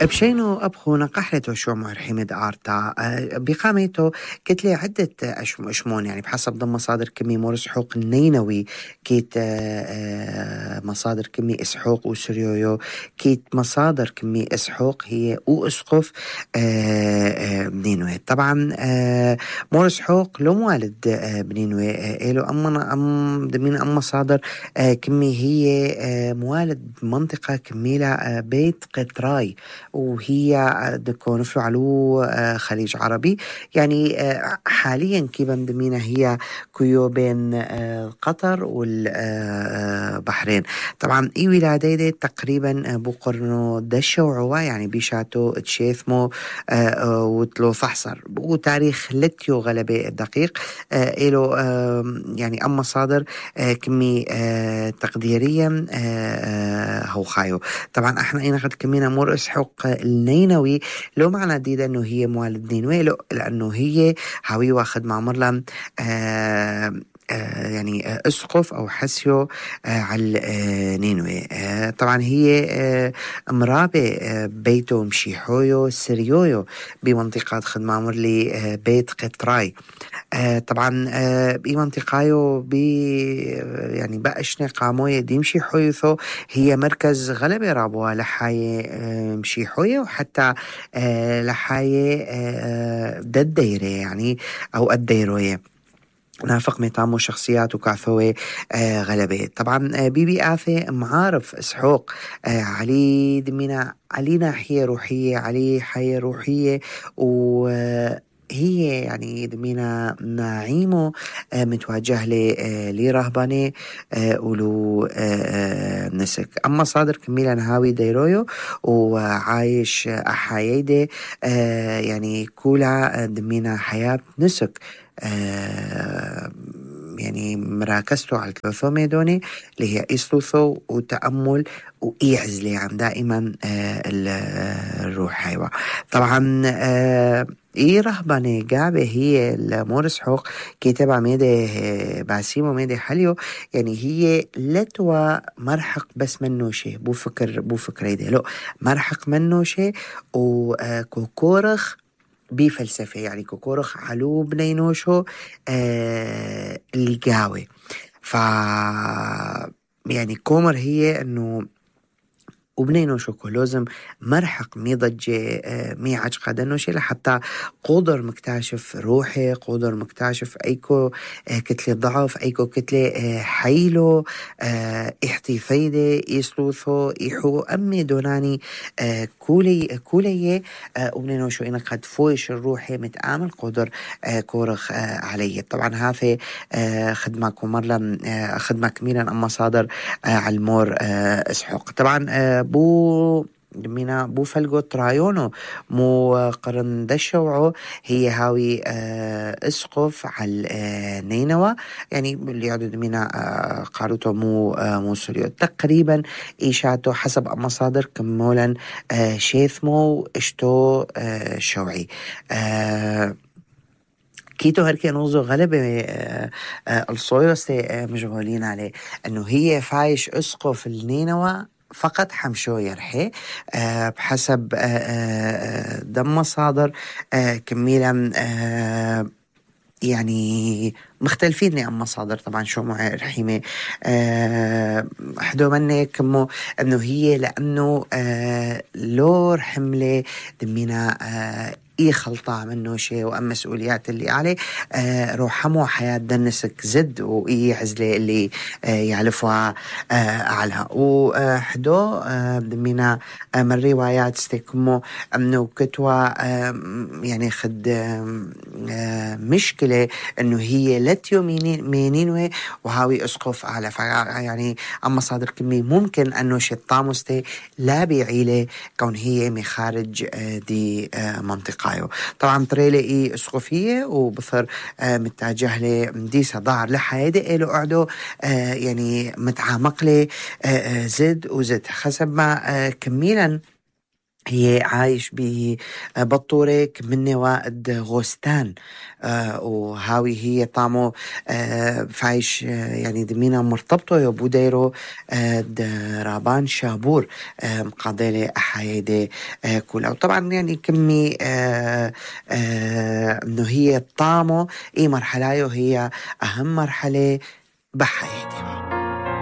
بشينو أبخو نقحلتو شو معر حمد آرتا بقاميتو كتلي عدة أشمون يعني بحسب ضم مصادر كمي مورس حوق النينوي كيت مصادر كمي إسحوق وسريويو كيت مصادر كمي إسحوق هي وأسقف بنينوي طبعا مورس حوق لو موالد بنينوي إلو دمين مصادر كمي هي موالد منطقة كميلة بيت قطراي وهي دكون فعلو خليج عربي يعني حاليا كيف مدمينة هي كيو بين قطر والبحرين طبعا اي ولادي دي تقريبا بقرنو دشوعوا يعني بيشاتو تشيثمو وتلو فحصر وتاريخ لتيو غلبي دقيق إلو يعني أما صادر كمي تقديريا هو خايو طبعا احنا اينا قد كمينا مور اسحوق النينوي لو معنى ديدا انه هي موالد نينوي لانه هي هاوي واخد مع مرلم يعني اسقف او حسيو على نينوي طبعا هي مرابة بيتو مشيحويو سريويو بمنطقة خدمة مرلي بيت قطراي طبعا بمنطقة يعني بقشنا قاموية دي مشيحويو هي مركز غلبة رابوة لحاية مشيحوية وحتى لحاية الديرة يعني او الديروية نافق ميطامو شخصيات وكعثوي غلبة طبعا بيبي آثي معارف اسحوق علي دمينا علي ناحية روحية علي حياة روحية هي يعني دمينا نعيمو متوجه لرهباني ولو نسك أما صادر كميلا نهاوي ديرويو وعايش أحايدي يعني كولا دمينا حياة نسك يعني مراكزته على الثلاثة ميدوني اللي هي إسلوثو وتأمل وإيعزلي عن دائما الروح أيوة طبعا إيه رهباني قابة هي المورس حوق كتابة ميدي باسيمو ميدي حليو يعني هي لتوا مرحق بس منو شيء بو فكر يدي لو مرحق منو شيء وكوكورخ بفلسفة يعني كوكورخ علو بنينوشو اللي قاوي يعني كومر هي انه وبنينو شوكو لازم مرحق مي ضجة مي عجقة دنوشي لحتى قدر مكتاشف روحي قدر مكتاشف ايكو كتلة ضعف ايكو كتلة حيلو احتفايدة يسلوثو يحو امي دوناني كولي وبنينو شو انا قد فويش الروحي متآمل قدر كورخ علي طبعا هذا خدمة كمرلا خدمة كميلا اما صادر على المور اسحوق طبعا بو فلقو ترايونو مو قرن دشوعو هي هاوي اسقف على نينوى يعني اللي يعدد منا قالوتو مو سوريو تقريبا إيشاتو حسب مصادر كمولا شيثمو اشتو شوعي كيتو هركي نوزو غلبة الصويرس مجهولين عليه انه هي فايش اسقف النينوى فقط حمشو يرحي بحسب دم مصادر كميلا يعني مختلفين عن مصادر طبعا شو معي رحيمة حدو مني كمو انه هي لانه لور حملة دمينا اي خلطة منه شيء وأما مسؤوليات اللي عليه روحمو حياة دنسك زد وإي عزلة اللي يعلفها عليها وحدو دمينا من روايات استيكمو أنه كتوى يعني خد مشكلة أنه هي لتيو مينينوي وهاوي أسقف على يعني أما صادر كمي ممكن أنه شطامستي لا بيعيلة كون هي مخارج دي منطقة طبعا تريلي اي اسقفية وبصر متجه لي مديسة ضعر لحيادي إلو قعدو يعني متعامق لي زد وزد حسب ما كميلا هي عايش ببطورك من وائد غوستان. وهاوي هي طعمه فايش يعني دمينا مرتبطه يبو ديرو رابان شابور مقابلة أحايدة كلها. وطبعا يعني كمي انه هي طعمه اي مرحلة هي اهم مرحلة بحياتي.